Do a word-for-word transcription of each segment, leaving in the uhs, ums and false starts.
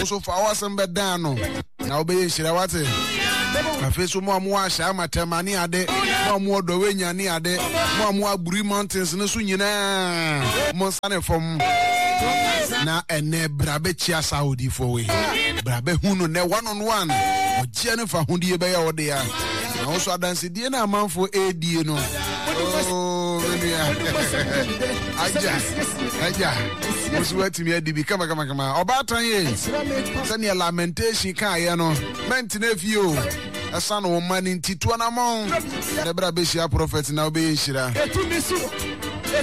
Wo so fa w'asɛm bɛdan no na wobɛyɛ nhyira wate. Afei so mo a mowɔ ahyɛ amatɛma ne ade, mo a mowɔ dɔwɛnya ne ade, mo a mowɔ Aburi Mountains no so nyinaa, mo nsa ne fam. Na ɛnɛ bra bɛkyia saa odiifoɔ wei. Bra bɛhu no nɛ one on one. Ɔgyeɛ ne fa hodie bɛyɛ wo dea. Na wo so adansedie no amanfoɔ ɛredie no. Oh, me nua. Agya, agya. Wo so woatumi adi bi kama kama kama. Ɔbaatan ye. Sɛdeɛ lamentation kaeɛ no, mɛntena fie o. Ɛsiane wo mma no nti, tu anammɔn na bra bɛhyia prɔfɛt na wobɛyɛ nhyira.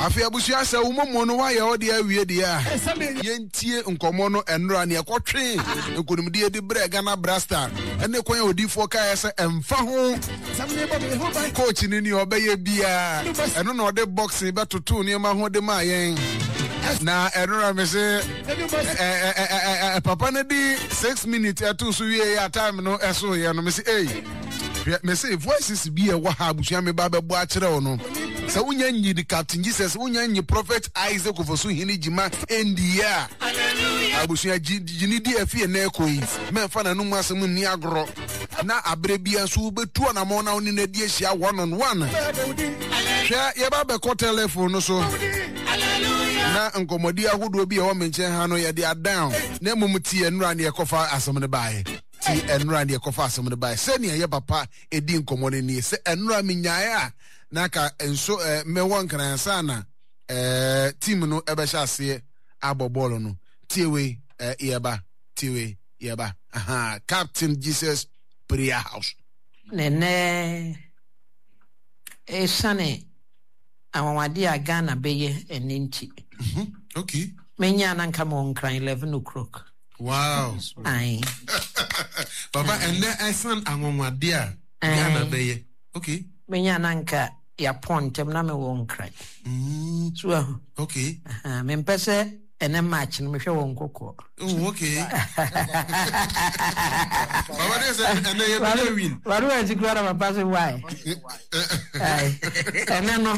Afei abusua sɛ wo momo no woayɛ wo deɛ awie deɛ a, yɛntie nkɔmmɔ no ɛnora ne ɛkɔtwe nkonimdie de brɛ Ghana Brasta ɛne kwan a odiifoɔ kaeɛ sɛ ɛmfa ho coach no ni ɔbɛyɛ biara ɛno na ɔde boxing bɛtoto nneɛma ho de maa yɛn na ɛnora me se papa no di six minutes ɛto so wie yɛ a time no ɛso yɛ no me se ei hwɛ me se voices bi ɛwɔ ha abusua me ba bɛbɔ akyerɛ wo no sɛ wonya nyi the Captain Jesus wonya nyi Prophet Isaac Ofosu Hene Gyima ɛndi a abusua gyini di afi ɛnɛ ɛkɔ yi mɛmfa n'anum asɛm nni agorɔ na aberɛ bia nso wobɛtu ɔnamɔn na wo ne no adi ahyia one on one. Hwɛ, yɛba bɛkɔ telephone no so na nkɔmmɔdi ahodoɔ bi a ɛwɔ me nkyɛn ha no yɛde adan na mmom ti ɛnora ne ɛkɔfa asɛm no baeɛ ti ɛnora ne ɛkɔfa asɛm no baeɛ sɛnea yɛ papa ɛdi nkɔmmɔ no nie sɛ ɛnora menyaeɛ a na ka nso eh, mɛwɔ nkransa na eh, team no ɛbɛhyɛ aseɛ abɔ bɔɔlo no tie wei eh, yɛba tie wei yɛba aha Captain Jesus Prayer House. Na ɛnɛ ɛsiane anwanwadeɛ a Ghana bɛyɛ ɛnɛ nti. Mm-hmm. Okay. Menya na nka mewɔ Nkran eleven o'clock. Wow. Aye. Papa, ɛnɛ ɛsiane anwanwadeɛ a Ghana bɛyɛ. Okay. Menya na nka yɛapɔn ntɛm na mewɔ Nkran. Mm. So ahu. Okay. Uh-huh. Mempɛ sɛ ɛnɛ March no mehwɛ wɔn kɔkɔɔ. Oh, okay. Baba de sɛ ɛnɛ yɛ bɛ win. Wari wɔ akyi kura na papa sɛ why. Ɛnɛ no.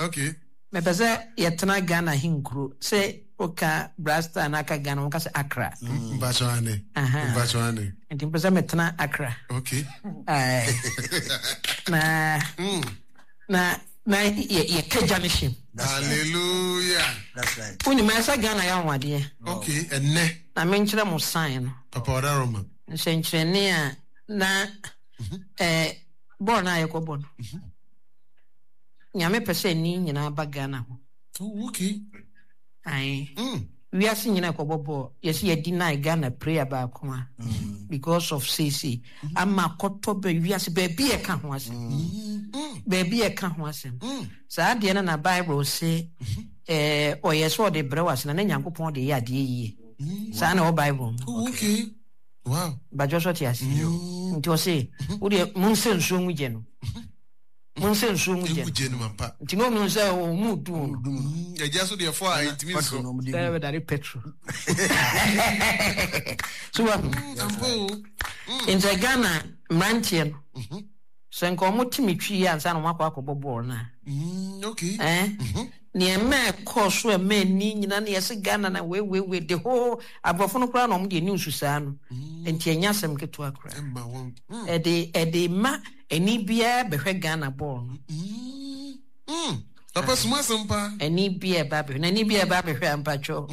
Okay. Mepɛ sɛ yɛtena Ghana henkuro sɛ woka Brasta na aka Ghana wɔka sɛ Accra. Mpatsɔ Mpatsɔ ane. Nti mepɛ sɛ metena Accra. Okay. Na mm. na na yɛ yɛka gya no hyɛm. Hallelujah. That's right. Wonim ɛsɛ Ghana yɛ ahoadeɛ. Okay, ɛnɛ. Na menkyerɛ mo sign no. Papa ɔda Roma. Nsɛnkyerɛnne a na ɛɛ bɔɔl no a yɛkɔbɔ no. Nyame pɛ sɛ ani nyinaa ba Ghana ho. Oh, okay. Aye. Mm. Wiase nyinaa kɔbɔ bɔɔl. Yɛsɛ yɛdi nine Ghana prayer baako a. Because of seesei. Ama kɔtɔ bɛ wiase baabi yɛ ka ho asɛm. Baabi yɛ ka ho asɛm. Saa adeɛ no na Bible se ɛɛ ɔyɛ sɛ ɔde brɛ wase na ne Nyankopɔn de yɛ adeɛ yie. Saa na ɛwɔ Bible mu. Oh, okay. Wow. Badwo so te ase. Nti ɔse wo deɛ monsɛ nsuo ngu gye no. Monsɛ nsuo ngu gye no. Nti na ɔmu sɛ ɔmu du no. Ɛgya so deɛ fɔ a ɛntumi nso. Sɛ bɛdare petrol. So wa. Nti Ghana mmeranteɛ no sɛ nka ɔmo te me twi ansa na ɔmo akɔ akɔbɔ bɔɔl no a. Okay. Eh? Nneɛma ɛkɔɔ so ɛma ani nyina ne yɛse Ghana na weiweiwei de hoo aborɔfo no koraa na ɔmo deɛ news saa no. Nti ɛnyɛ asɛm ketewa koraa. Ɛde ɛde ma ani biara bɛhwɛ Ghana bɔɔl no. Papa suma asɛm paa. Ani biara ɛba abɛhwɛ na ani biara ɛba abɛhwɛ ampatwɔ.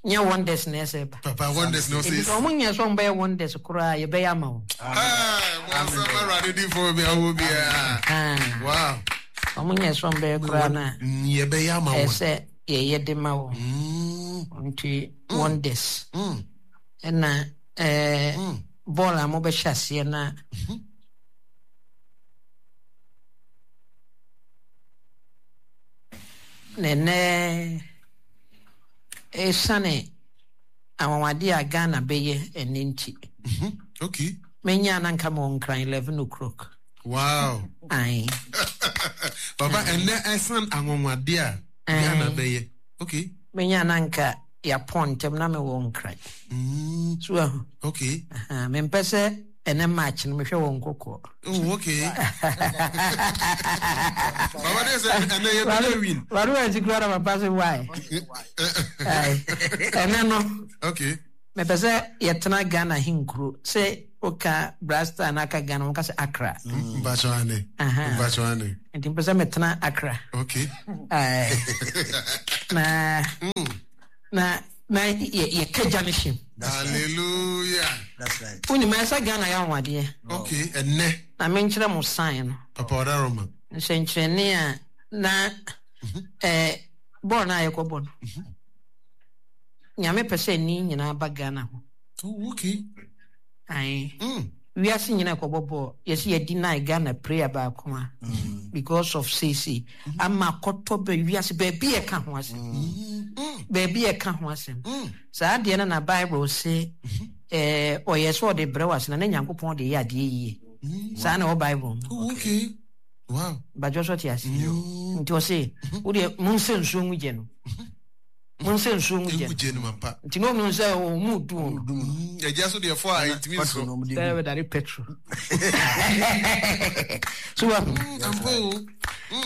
Nyɛ wonders na ɛsɛ ba. Papa wonders na ɔsɛ. Ebi sɛ ɔmo nyɛ sɛ ɔmo bɛyɛ wonders koraa yɛbɛyɛ ama wɔn. Mo asɛm awurade di fo bi awo biara. Wow. Ɔmo nyɛ sɛ ɔmo bɛyɛ koraa na. Yɛbɛyɛ ama wɔn. Ɛsɛ yɛyɛ de ma wɔn. Nti wonders. Ɛna ɛɛ bɔɔl a mo bɛhyɛ aseɛ na. Na ɛnɛ ɛsiane anwanwadeɛ a Ghana bɛyɛ ɛnɛ nti. Okay. Menya na nka mewɔ Nkran eleven o'clock. Wow. Aye. Papa ɛnɛ ɛsiane anwanwadeɛ a Ghana bɛyɛ. Okay. Menya na nka yɛapɔn ntɛm na mewɔ Nkran. Mm. So ahu. Okay. Uh-huh. Mempɛ sɛ ɛnɛ March no mehwɛ wɔn kɔkɔɔ. Oh, okay. Baba de sɛ ɛnɛ yɛ bɛ win. Wari wɔ akyi kura na papa sɛ why. Ɛnɛ no. Okay. Mepɛ sɛ yɛtena Ghana henkuro sɛ woka Brasta na aka Ghana woka sɛ Accra. Mpakyɛ mpakyɛ ane. Nti mpɛ sɛ metena Accra. Okay. Na na na yɛka gya no hyɛm. Hallelujah. That's right. Wonim ɛsɛ Ghana yɛ ahoadeɛ. Okay, ɛnɛ. Na menkyerɛ mo sign no. Papa ɔdaroma. Nsɛnkyerɛnne a na ɛɛ bɔɔl no a yɛkɔbɔ no. Nyame pɛ sɛ ani nyinaa ba Ghana ho. Oh, okay. Aye. Mm. Wiase nyinaa kɔbɔ bɔɔl. Yɛsɛ yɛdi nine Ghana prayer baako a. Because of seesei. Ama akɔtɔ bɛ wiase baabi yɛ ka ho asɛm. Baabi yɛ ka ho asɛm. Saa adeɛ no na Bible se ɛɛ ɔyɛ sɛ ɔde brɛ wase na ne Nyankopɔn de yɛ adeɛ yie. Saa na ɛwɔ Bible mu. Oh, okay. Wow. Badwo so te ase. Nti ɔse wodeɛ monsɛ nsuo ngu gye no. Monsɛ nsuo ngu gye no. Nti na ɔmu sɛ ɔmu du no. Ɛgya so deɛ fɔ a ɛntumi nso. Sɛ bɛdare petrol. So wa.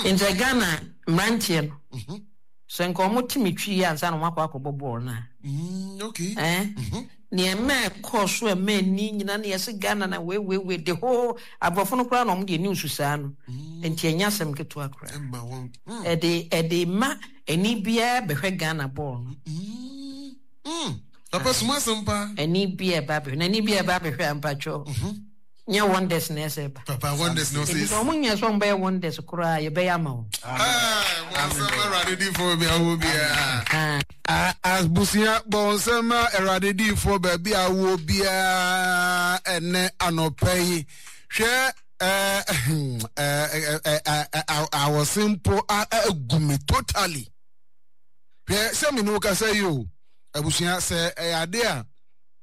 Nti Ghana mmeranteɛ no. Sɛ nka ɔmo te me twi ansa na ɔmo akɔ akɔbɔ bɔɔl no a. Okay. Eh? Nneɛma ɛkɔɔ so ɛma ani nyina ne yɛsɛ Ghana na weiweiwei de hoo aborɔfo no koraa na ɔmo deɛ news saa no. Nti ɛnyɛ asɛm ketewa koraa. Ɛde ɛde ma ani biara bɛhwɛ Ghana bɔɔl no. Papa suma asɛm paa. Ani biara ba bɛhwɛ na ani biara ba bɛhwɛ ampatwɔ. Nyɛ wonders na ɛsɛ ba. Papa wonders na ɔsɛ. Nti ɔmo nyɛ sɛ ɔmo bɛyɛ wonders koraa yɛbɛyɛ ama wɔn. Bɔnsɛm Awurade difoɔ bi awo biara. Abusua bɔnsɛm Awurade difoɔ baabi awo biara ɛnɛ anɔpɛ yi. Hwɛ ɛɛ awɔse mpo agu me totally. Hwɛ sɛ me ne wo kasa yi o. Abusua sɛ ɛyɛ ade a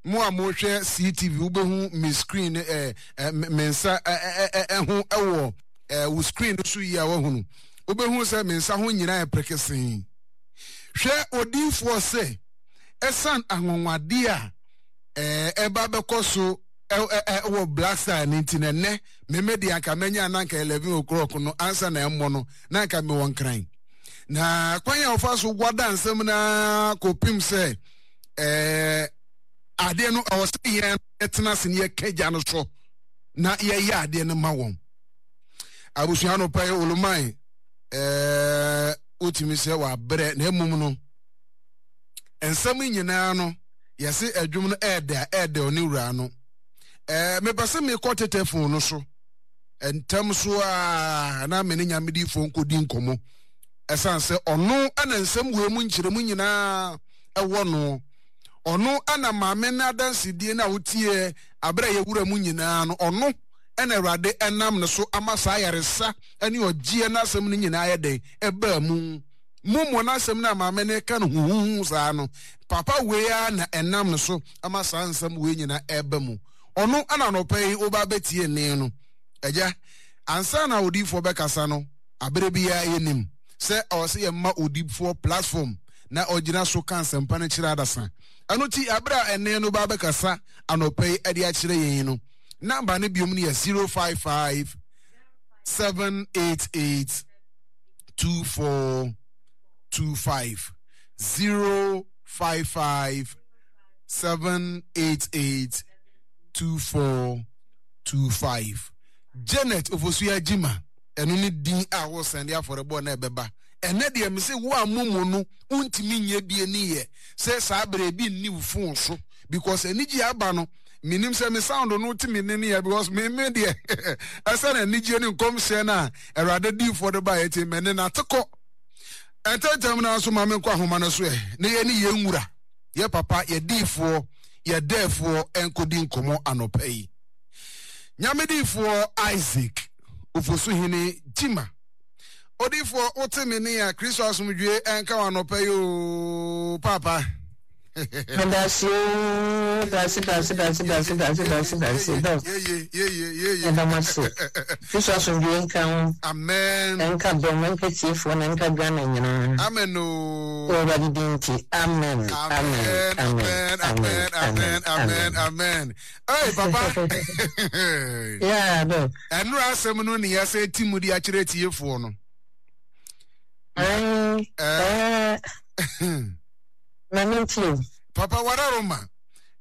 mo a mohwɛ C T V wobɛhu me screen eh, eh, me nsa eh, eh, ho ɛwɔ eh, wo screen so yi a wahunu. Wobɛhu sɛ me nsa ho nyinaa yɛ prekesee. Hwɛ odiyifoɔ sɛ ɛsan anwanwadeɛ a eh, ɛba bɛkɔ so ɛwɔ Black Star no nti na ɛnɛ meme deɛ anka mɛnya na anka eleven o'clock no ansa na ɛmmɔ no na anka mewɔ nkran. Na kwan a wɔfa so wada nsɛm na kɔpem sɛ eh, adeɛ no ɛwɔ sɛ yɛn tena ase ne yɛka gya no so na yɛyɛ adeɛ no ma wɔn. Abusua no pɛ oluman ɛɛ wotumi sɛ wabrɛ na emum no nsɛm nyinaa no yɛse adwum no ɛɛdɛ ɛɛdɛ ɔne wura no. Ɛɛ mepɛ sɛ mekɔ tete phone no so ntɛm so a na me ne nyamedifoɔ nkɔdi nkɔmmɔ ɛsan sɛ ɔno ɛna nsɛm wei mu nkyerɛmu nyinaa ɛwɔ no. Ɔno ɛna maame no adansedie no a wotie abere a yɛwura mu nyinaa no ɔno ɛna Awurade ɛnam ne so ama saa yaresa ɛne ɔgyeɛ n'asɛm no nyinaa yɛ dɛn ɛbaa mu. Mumu n'asɛm no a maame no ka no huhuhu saa no papa wei a na ɛnam ne so ama saa nsɛm wei nyinaa ɛba mu. Ɔno ɛna anɔpa yi woba bɛtie ne no. Agya ansa na odiyifoɔ bɛkasa no abere biara yɛnim sɛ ɔwɔ sɛ yɛma odiyifoɔ platform na ɔgyina so ka nsɛmpa no kyerɛ adasa. Ɛno ti abere a ɛne no ba bɛkasa anɔpa yi ɛde akyerɛ yɛn no namba no biom no yɛ zero five five seven eight eight two four two five zero five five seven eight eight two four two five. Janet Ofosuya Jima ɛno ne din a wɔsɛn de afɔrebɔ na ɛbɛba. Ɛnɛ deɛ me sɛ wo a momo no wontumi nyɛ bie ne yɛ sɛ saa berɛ bi nni wo phone so because anigye aba no menim sɛ me sound no te me ne ne yɛ because me me deɛ ɛsɛ na anigye ne nkɔmhyɛ no a Awurade diifoɔ de baeɛ nti me ne nate kɔ. Ɛntɛntɛm no nso ma menkɔ ahoma no so ɛ na yɛ ne yɛn nwura yɛ papa yɛ diifoɔ yɛ dɛɛfoɔ ɛnkɔdi nkɔmmɔ anɔpa yi. Nyame diifoɔ Isaac Ofosuhene Jima. Odiifoɔ wote me ne a Kristo asomdwie ɛnka wo anɔpa yi o papa. Dasi o dasi dasi dasi dasi dasi dasi dasi dɔ. Yeye yeye yeye. Ɛdɔm ase. Kristo asomdwie nka ho. Amen. Ɛnka dɔm ɛnka tiefoɔ na ɛnka Ghana nyinaa. Amen o. Awurade din nti. Amen. Amen. Amen. Amen. Amen. Amen. Amen. Hey papa. Yeah, dɔ. Ɛnura asɛm no ne yɛsɛ ti mu de akyerɛ tiefoɔ no. Ɛɛ ɛɛ. Mami ntie. Papa wararoma.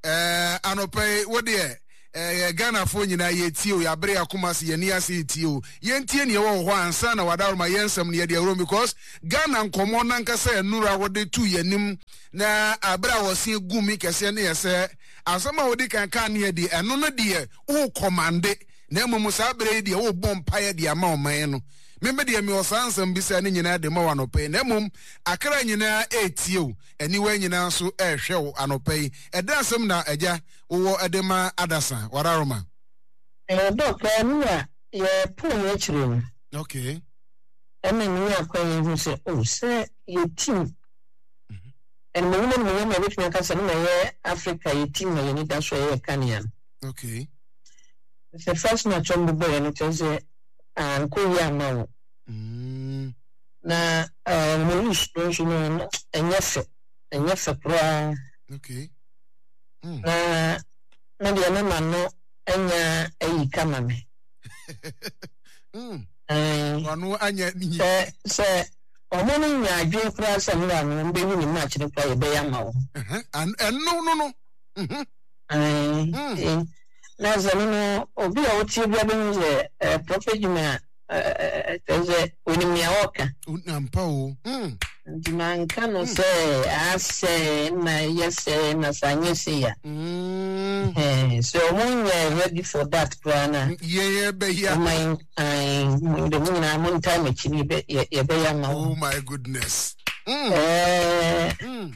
Ɛɛ anɔpa yi wo deɛ ɛyɛ Ghanafoɔ nyinaa yɛtie o, yɛabere akoma ase, yɛni ase yɛtie o. Yɛntie neɛ ɛwɔ wɔ hɔ ansa na wadaroma yɛn nsɛm no yɛde awurom because Ghana nkɔmmɔ nankasa nnura wɔde tu yɛn anim na abere a wɔse gu mi kɛseɛ ne yɛ sɛ asɛm a wɔdi kan kaa ne yɛ deɛ ɛno no deɛ wo kɔmande na mmom saa bere yi deɛ wobɔ mpaeɛ de ama ɔman no. Meme deɛ mewɔ saa nsɛm bisa ne nyinaa de ma wɔ anɔpa yi na mmom akra nyinaa ɛretie o, aniwa nyinaa nso ɛrehwɛ wo anɔpa yi. Ɛda asɛm na agya wowɔ de ma adasa wadaroma. Eh, Doc, ɛno a yɛpoo yɛn akyire no. Okay. Ɛna menya akwan yi hu sɛ, oh, sɛ yɛ team. Ɛnumonyam animuonyam a yɛbɛtumi aka sɛ no na ɛyɛ Africa yɛ team a yɛn ani da so a ɛyɛ kanea no. Okay. Sɛ first match ɔmo bɔeɛ no kyerɛ sɛ ankɔ yie amma wo. Mm. Na ɔmo lose no nso no ɛnyɛ fɛ, ɛnyɛ fɛ koraa. Okay. Mm. Na me deɛ na ma no anya ayi kama me. Mm. Ɛɛ. Wano anya ni. Sɛ sɛ ɔmo no nya adwene koraa sɛ mmerɛ a no ɔmo bɛwi ne match no koraa yɛbɛyɛ ama wo. Ɛno no no. Mhm. Ɛɛ. Na sɛ no no obi a ɔtie bia bɛhu sɛ ɛɛ Prophet Juma ɛɛ kyerɛ sɛ onim nea ɔreka. Ampa o. Mm. Nti manka no sɛ asɛ na ɛyɛ sɛ na sɛ anyɛ sei a. Mm. Ɛɛ sɛ ɔmo nyɛ ready for that koraa na. Yɛn yɛbɛyɛ. Ɔmo ayi ayi mo de mo nyinaa mo ntaa m'akyi no yɛbɛ yɛbɛyɛ ama wɔn. Oh my goodness. Mm. Ɛɛ. Mm.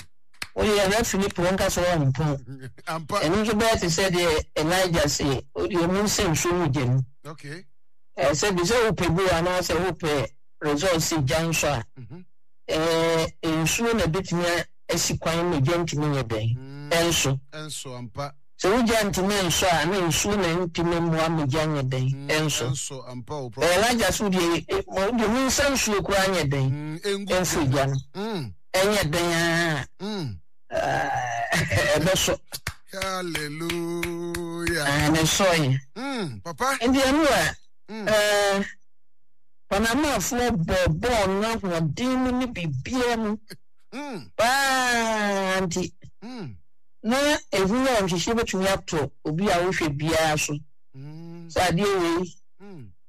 Woyɛ referee po nka sɛ wɔmpɔn. Ampa. Ɛno nso bɛyɛ te sɛ deɛ Elijah se wodeɛ ɔmu nsɛ nsuo mu gya mu. Okay. Ɛɛ sɛ bi sɛ wopɛ goal anaasɛ wopɛ result si gya nso a, ɛɛ nsuo na ebetumi asi kwan ma gya ntumi nyɛ dɛn ɛnso. Ɛnso ampa. Sɛ wogya ntumi nsɔ a na nsuo na ntumi mmoa ma gya nyɛ dɛn ɛnso. Ɛnso ampa o. Elijah so deɛ deɛ mu nsa nsuo koraa nyɛ dɛn ɛmfiri gya no. Ɛnyɛ dɛn a ɛbɛsɔ. Hallelujah. Na ɛsɔe. Mm, papa. Nti ɛno a ɛɛ Panamafoɔ bɔɔ bɔɔl no ahoɔden mu ne biribiara mu paa nti na ehu a nhwehwɛ bɛtumi atɔ obi a wohwɛ biara so sɛ adeɛ wei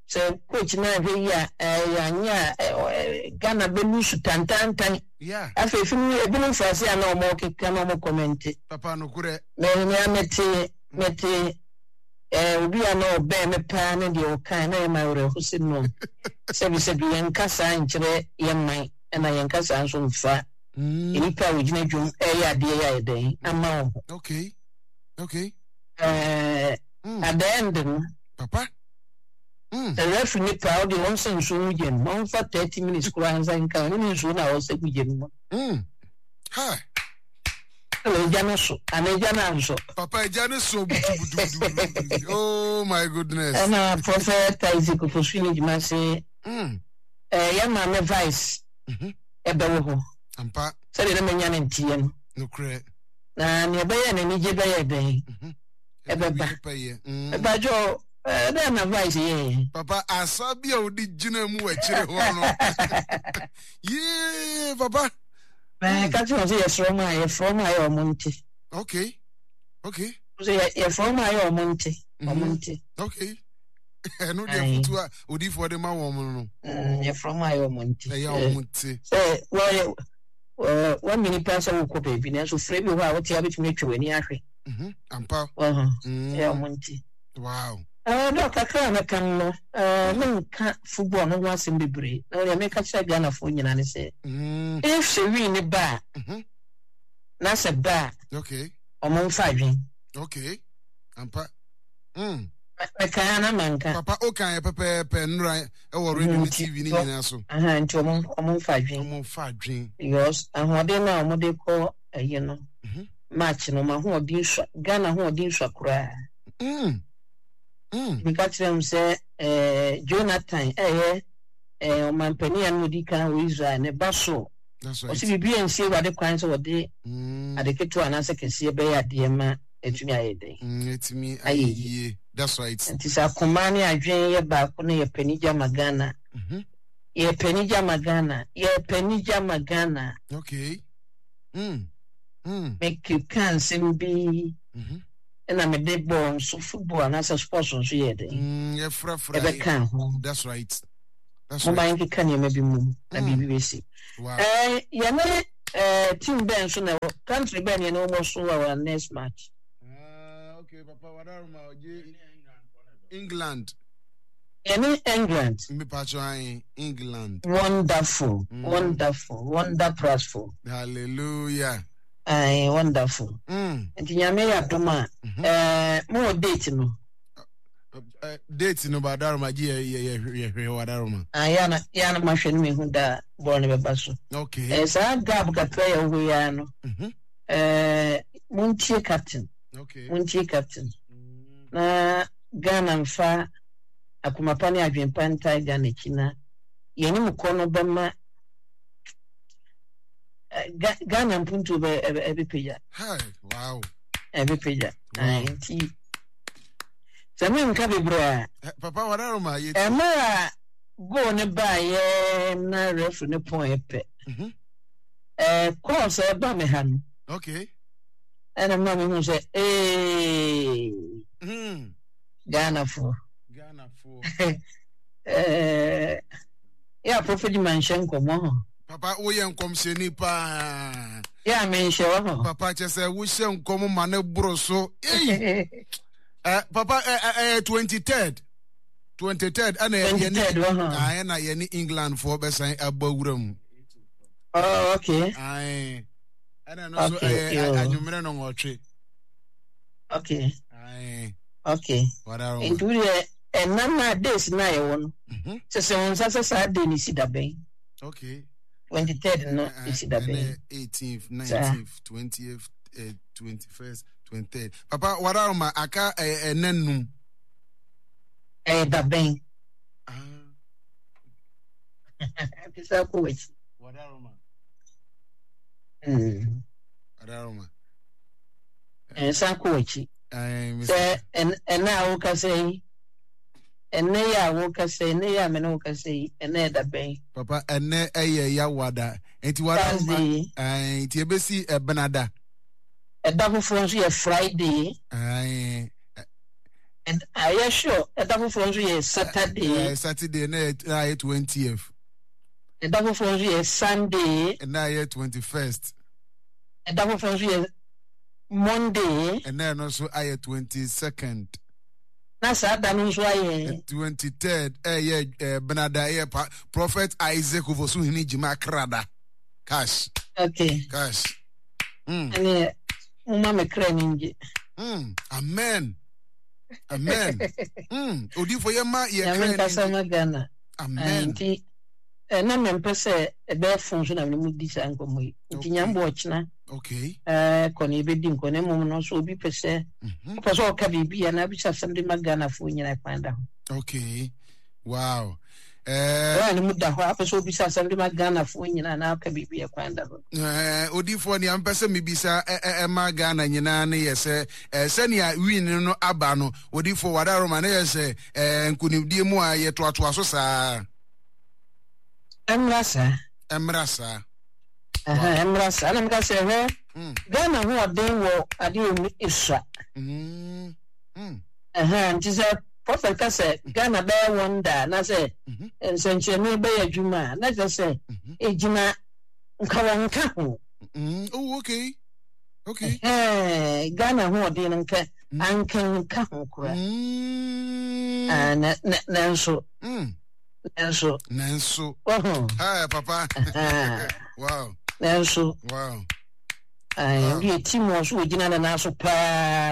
sɛ coach no anhwɛ yi a ɛyɛ anyɛ a Ghana bɛ lose tantantan. Yeah. Afei fi mu ebinom fa ase a na wɔn keka na wɔn kɔmɛnte. Papa nokorɛ. Mɛ mɛ mɛte mɛte ɛɛ obi a na ɔbɛn me paa ne deɛ ɔkan na yɛ ma awerɛho sɛ no sɛbi sɛbi yɛn kasa nkyerɛ yɛn man ɛna yɛn kasa nso nfa nnipa a wɔgyina dwom ɛyɛ adeɛ yɛ ayɛ dɛn ama wɔn ho. Okay. Okay. Ɛɛ at the end no. Papa. Mm. Sɛ referee ne paa ɔde wɔn sɛ nsuo mu gya mu ɔnfa thirty minutes koraa nsa nka ɔno ne nsuo na ɔsɛ gu gya mu. Mm. Ha. Ɛna egya no so ana egya no ansɔ. Papa egya no so butubutubutu. Oh my goodness. Ɛna Prophet Isaac Ofosu ne dwuma se. Mm. Ɛɛ yɛ maame vice. Ɛbɛwɔ hɔ. Ampa. Sɛdeɛ na manya ne nteɛ no. Nokorɛ. Na nea ɛbɛyɛ n'anigye bɛyɛ dɛn. Ɛbɛba. Ɛbadwo ɛdɛn na vice yɛɛ. Papa asa bi a odi gyina mu wɔ akyire hɔ no. Yee papa. Na ka kyerɛ wɔn sɛ yɛfrɛ wɔn a yɛfrɛ wɔn a yɛ wɔn nte. Okay. Okay. So yɛfrɛ wɔn a yɛ wɔn nte. Wɔn nte. Okay. Ɛno deɛ futu a odiifoɔ de ma wɔn no. Yɛfrɛ wɔn a yɛ wɔn nte. Ɛyɛ wɔn nte. Sɛ wɔyɛ wɔn mini paa sɛ wokɔ baabi nanso frɛ bi hɔ a wote a wobɛtumi atwa w'ani ahwɛ. Ampa. Ɛyɛ wɔn nte. Wow. Dɔ kakra a mɛka no, menka football no ho asɛm bebree. Na deɛ meka kyerɛ Ghanafoɔ nyinaa ne sɛ, if sɛ wii ne ba a, na sɛ ba a, okay. Ɔmo mfa adwen. Okay. Ampa. Mm. Mɛka ya na manka. Papa o kan yɛ pɛpɛɛpɛ nnura ɛwɔ radio ne T V ne nyinaa so. Aha, nti ɔmo ɔmo mfa adwen. Ɔmo mfa adwen. Because ahoɔden no a ɔmo de kɔ ɛyi no, match no, ɔmo ahoɔden sua, Ghana ahoɔden sua koraa. Mm. Mm. Meka kyerɛ m sɛ eh, Jonathan ɛyɛ eh, ɔmampanin a na ɔdi kan wɔ Israel ne ba so. That's right. Ɔsɛ biribi a nsi Awurade kwan sɛ wɔde Mm. ade ketewa anaasɛ kɛseɛ bɛyɛ adeɛ ma ɛtumi ayɛ dɛn. Mm, ɛtumi Ayɛ ayɛ yie. yie. That's right. Nti sɛ akoma ne adwene yɛ baako na yɛpɛ anigye ama Ghana. Mm-hmm. Yɛpɛ anigye ama Ghana. Yɛpɛ anigye ama Ghana. Okay. Mm. Mm. Mekeka nsɛm bi. Mhm. Ɛna mede bɔɔl nso, football anaasɛ sports nso yɛ den. Mm, yɛfrafra. Ɛbɛka ho. That's right. That's Momma right. yɛnkeka nneɛma bi mmom na Mm. biribi bɛsi. Wow. Eh, yɛne eh, team bɛn so na ɛwɔ, country bɛn yɛne wɔbɔ so wɔ our next match? Ah, okay, Papa Wadaroma, oje England. Yɛne England. Mepatro ayi England. Wonderful, Mm. wonderful, wonderful. Hallelujah. Aye, wonderful. Mm. Nti Nyame yɛ adom a, Mhm. eh, mowɔ date no? Uh, date no Wadaroma gye yɛ yɛ yɛ yɛ Wadaroma. Ah, yɛ na yɛ na mahwɛ no mehu da a bɔɔl no bɛba so. Okay. Eh, saa gap kakra yɛ wɔ hɔ yi ara no, Mhm. eh, montie captain, Okay. montie captain. Mm. Na Ghana mfa akoma pa ne adwempa ntae Ghana akyi na yɛnim kɔ no bɛma eh, Ga- Ghana mpuntuo bɛ ɛbɛ- ɛbɛpagya. Hi. Wow. Ɛbɛpagya. Wow. Aye, nti sɛ menka bebree a, Eh, Papa Wadaroma yɛ. Mmerɛ a goal ne baeɛ na referee ne pɔn pɛ, Mhm. eh, calls a ɛba me ha no, Okay. ɛna ma mehu sɛ ee, Mm. Ghanafoɔ. Ghana for. Eh, yɛ a Prophet ma nhyɛ nkɔmmɔ ho. Papa, woyɛ nkɔmhyɛni paa. Yɛ a menhyɛ wɔ ho. Papa, kyɛ sɛ wohyɛ nkɔm ma ne boro so. Ei! Eh, papa, eh, eh, eh, twenty-third. twenty-third ɛna yɛne twenty-third wɔ ho. Ah, ɛna yɛne England foɔ bɛsan abɔ wura mu. Oh, okay. Aye. Ɛna no so Okay, ɛyɛ yo. anwummerɛ no nwɔtwe. Okay. Aye. Okay. Wadaroma. Nti wodeɛ ɛnam na days na yɛwɔ no, Mhm. sɛ sɛ wo nsa sɛ saa day no si da bɛn? Okay. twenty-third no Eh, si da bɛn? ɛnɛ eighteenth, nineteenth, twentieth, eh, twenty-first, twenty-third. Papa, wadaroma aka eh, ɛnɛ num. Ɛyɛ da bɛn? Ah, Bisa kɔ w'akyi. Wadaroma. Mm. Wadaroma. Nsa kɔ w'akyi. Aye, Mister Sɛ ɛn- ɛnɛ a wokasa yi, ɛnɛ yi a wokasa yi, ɛnɛ yi a me ne wokasa yi, ɛnɛ ɛda bɛn? Papa, ɛnɛ ɛyɛ yawada. Nti wadaroma. Thursday. Aye, nti ebesi ɛbenada. Ɛda foforɔ nso yɛ Friday. Aye. Ɛd- Ayɛ sure, ɛda foforɔ nso yɛ Saturday. Eh, Saturday na yɛ na yɛ twentieth. Ɛda foforɔ nso yɛ Sunday. Na yɛ twenty-first. Ɛda foforɔ nso yɛ Monday. Ɛnɛ no nso ayɛ twenty-second. Na saa da no nso ayɛ twenty-third ɛyɛ eh, benada ɛyɛ pa Prophet Isaac Ofosuhene Jima Krada. Cash. Okay. Cash. Mm. Ɛneɛ momma me kra ni ngye. Mm. Amen. Amen. Mm. Odifo yɛ ma yɛ Nyame kra ni nkasa ngye. ma Ghana. Amen. Nti na mempɛ sɛ ɛbɛyɛ fon so na mene mu di saa nkɔmmɔ yi. Nti Okay. Nyame bɔ ɔkyena Okay. eh, kɔ na yɛbɛdi nkɔ na mmom no, so obi pɛ sɛ Mhm. wopɛ sɛ ɔka biribi anaa bisa asɛm de ma Ghanafoɔ nyinaa, kwan da ho. Okay. Wow. Eh, Ɛwɔ ne mu da hɔ a, wopɛ sɛ obisa asɛm de ma Ghanafoɔ nyinaa anaa ɔka biribi a, kwan da hɔ. Eh, odifoɔ, nea mpɛ sɛ mebisa ɛ- ɛ- ɛma Ghana nyinaa ne yɛ sɛ eh, sɛnea win no aba no, odifoɔ wadaroma, ne yɛ sɛ eh, nkonimdie mu a yɛtoatoa so saa. Ɛmmra saa. Ɛmmra saa. Aha, ɛmmra saa na meka sɛ hwɛ, Mm. Ghana ho ɔden wɔ adeɛ mu esua. Mm. Mm. Aha, nti sɛ prophet ka sɛ Ghana bɛyɛ wonder anaasɛ Mhm. nsɛnkyerɛnne bɛyɛ adwuma a, na kyerɛ sɛ Mhm. ɛgyina nka wɔn nka ho. Mm. Oh, okay. Okay. Ɛhɛn, Ghana ho ɔden no nka Mm. anka nka ho koraa. Mm. Ah, na na nanso Mm. nanso Nanso. Wɔho. Hi, Papa. Aha. Wow. Nanso Wow. ah, Wow. Ndeɛ team wɔ so wɔgyina ne nan so paa.